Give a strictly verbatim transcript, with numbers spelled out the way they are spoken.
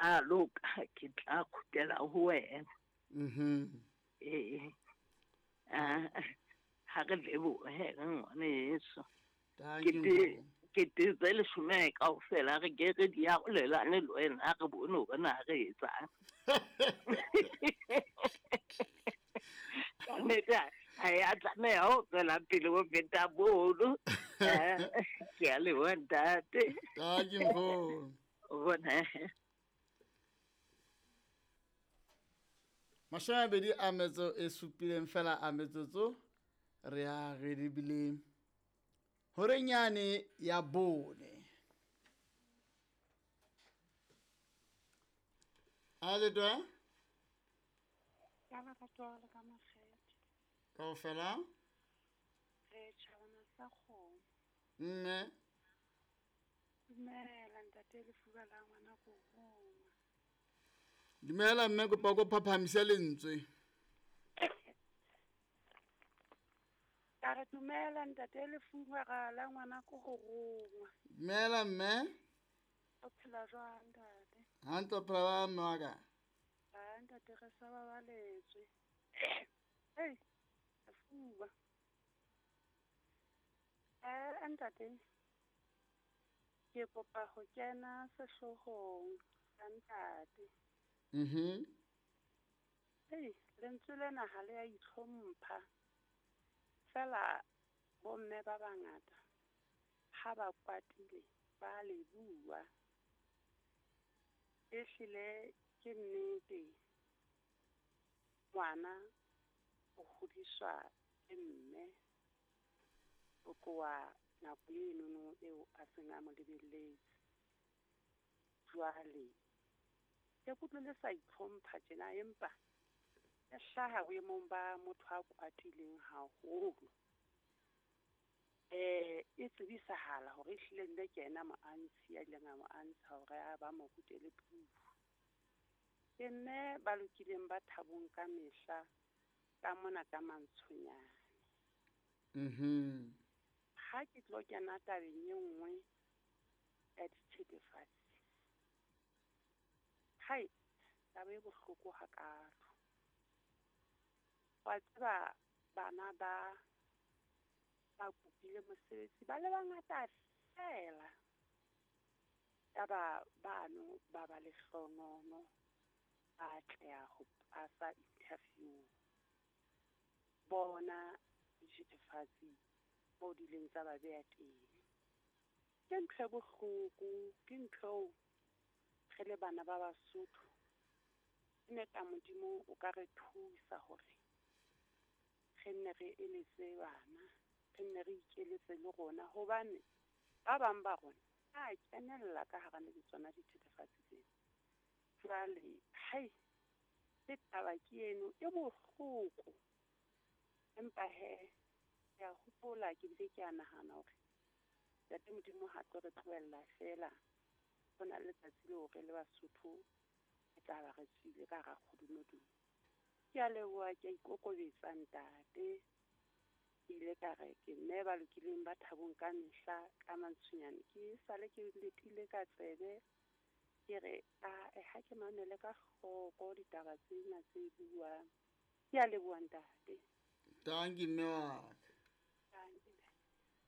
tla loka ke tla kgutlela ho wena. Mhm. Ee. Ah, ha re lebohe ngwaneso. Thank you. Ke te ke te tse leshome kaofela re ke re di arolelane le wena re bone hore na re etsang. Ka nnete ha ya tlameha ho tswela pele ho feta mono. Ke a leboha ntate. Thank you nkgono. O bona. Mashome a mabedi a metso e supileng fela a metsotso re a re lebile horeng yane ya bone. A le twa? Ka lerato le ka makgethe. Kaofela? Re tjhabana sa kgomo. Mme. Dumela ntate Lefuba la ngwana ko rongwa. Dumela mme, kopa ko phaphamise lentswe. Ka re dumela ntate Lefuba la ngwana ko go rongwa. Dumela mme. O phela jwang ntate? Hantle, o phela ba mme wa ka? Ha ntate re sa babaletswe. Hey, Lefuba. Eh ntate, ke kopa ho kena sehloohong sa ntate. Mhm. Hey, lentswe lena ha le a itlhompha. Fela bomme ba bangata ha ba kwatile ba le bua. Ehlile ke nnete, ngwana o hodiswa ke mme o tloha nako enono eo a seng a mo lebelletse. Jwale ke kutlwe le sa itlhompha tjena, empa e hlaha boemong ba motho a kwatileng haholo. Eh e tsebisahala hore ehlile nne ke yena moantshi ya ileng a mo antsha hore a ba mo rutele puo. Ke mme ba lokileng ba thabong ka mehla ka mona ka mantshonyane. Mhm. Ha ke tlo kena tabeng e nngwe ya dithethefatsi. Hai, taba e bohloko hakalo. Wa tseba bana ba ba kopile mosebetsi ba le bangata fela. Yaba bano ba ba lehlonono ba atleha ho pasa interview. Bona dithethefatsi mo di ileng tsa ba beha teng. Ke ntho e bohloko, ke ntho eo re le bana ba Basotho ne ka Modimo o ka re thusa hore re nne re eletse bana, re nne re ikeletse le rona, hobane ba bang ba rona ba kenella ka hara le tsona dithethefatsi tsena. Jwale hai, le taba ke eno e bohloko, empa he ke a hopola ke bile ke a nahana hore Ntate Modimo ha tlo re tlohella fela. Ho na le letsatsi leo re le Basotho re tla ba re tswile ka hara kgodumodumo. Ke a leboha, ke a ikokobetsa ntate. Ke ile ka re ke mme ba lokileng ba thabong ka mehla ka mantshonyane. Ke sale ke letile ka tsebe ke re a ha ke mamele ka hloko ditaba tsena tse buang. Ke a leboha ntate. Thank you mme wa.